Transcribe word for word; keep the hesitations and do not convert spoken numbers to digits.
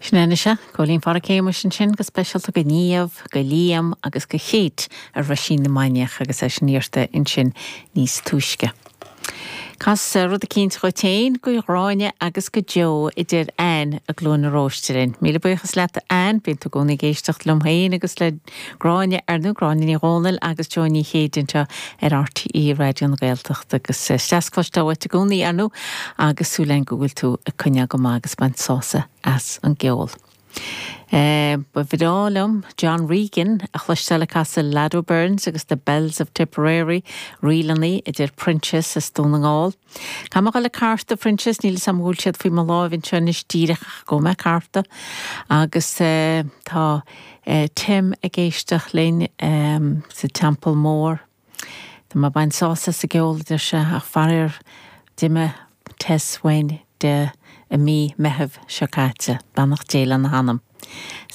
Sin é sea, Cóilín Phádraic Shéamuis ansin go speisialta go Niamh, go Liam agus go Kate ar Roisín na Mainiach agus é sin iarrta ansin níos túisce. Cas rud eicínt dhuit féin go Gráinne agus go Joe a deir Ann i gCluain na Róiste. Míle buíochas leat Ann, bíonn tú i gcónaí ag éisteacht liom féin agus le Gráinne ar nó Gráinne Ní Dhomhnaill agus Joe Ní Chéide anseo ar RTÉ Raidió na Gaeltachta agus is cloisteáil i gcónaí ar nó agus súil go bhfuil tú ag coinneáil go maith agus baint sásamh as an gceol. Uh, ba bhreá liom John Regan a chloisteáil ag casadh Lado Burns agus the Bells of Tipperary rílannaí a deir Proinsias as Dún na nGall. Tá le cárta Proinsias níl sam bhfuil siad faoi mo láimh anseo anois díreach go mé cárta agus uh, tá uh, Tim ag éisteacht linn um, sa Teampall Mór. Tá mé ag baint sásamh as an gceol deir sé ach faraor d'imigh Tess Wayne de i mí Mheithimh seo caite, beannacht Dé lena hanam.